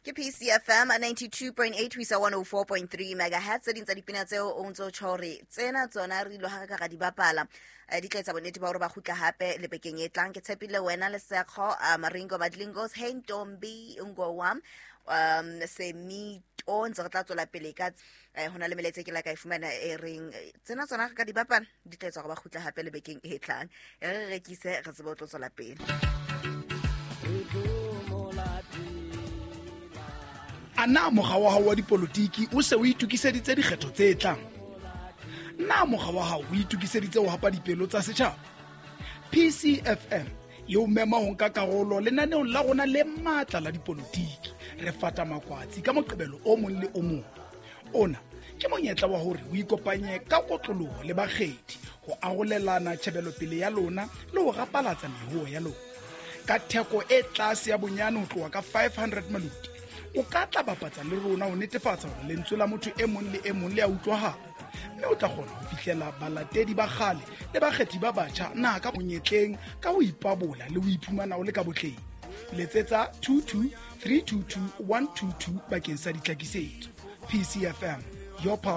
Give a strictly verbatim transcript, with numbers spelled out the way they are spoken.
Ke P C F M ninety-two point eight ho isa one oh four point three megahertz. Tse ding tsa dipina tseo o ntso tjho hore tsena tsona re ilo ha re ka ra di bapala, eh, di tla etsa bonnete ba hore ba kgutla hape le bekeng e tlang. Ke tshepile wena le Sekgo, uh, Maringo Madlingos, Hey Ntombi Ngowam, um semito ntse re tla tswela pele ka eh, ho na le melaetsa e ke la ka e fumana e reng eh, tsena tsona re ka di bapala, di tla etsa hore ba kgutla hape le bekeng e tlang. E re rekise, re tsebe ho tlo tswela pele. A na mokga wa hao wa dipolotiki o se o itokiseditse dikgetho tse tlang? Na mokga wa hao o itokiseditse ho hapa dipelo tsa setjhaba? P C F M e o mema ho nka karolo lenaneong la rona le matla la dipolotiki, Re Fata Makwatsi, ka Moqebelo o mong le o mong. Ona ke monyetla wa hore o ikopanye ka kotloloho le bakgethi ho arolelana tjhebelopele ya lona le ho rapalatsa mehoo ya lona. Ka theko e tlase ya bonyane ho tloha ka five hundred maloti, o ka tla bapatsa le rona ho netefatsa hore lentswe la motho e mong le e mong le a utlwahala, mme o tla kgona ho fihlela balatedi ba kgale le bakgethi ba batjha na ka monyetleng ka ho ipabola le ho iphumana o le ka botleng. Letsetsa two two three two two one two two bakeng sa ditlhakisetso. P C F M, your power.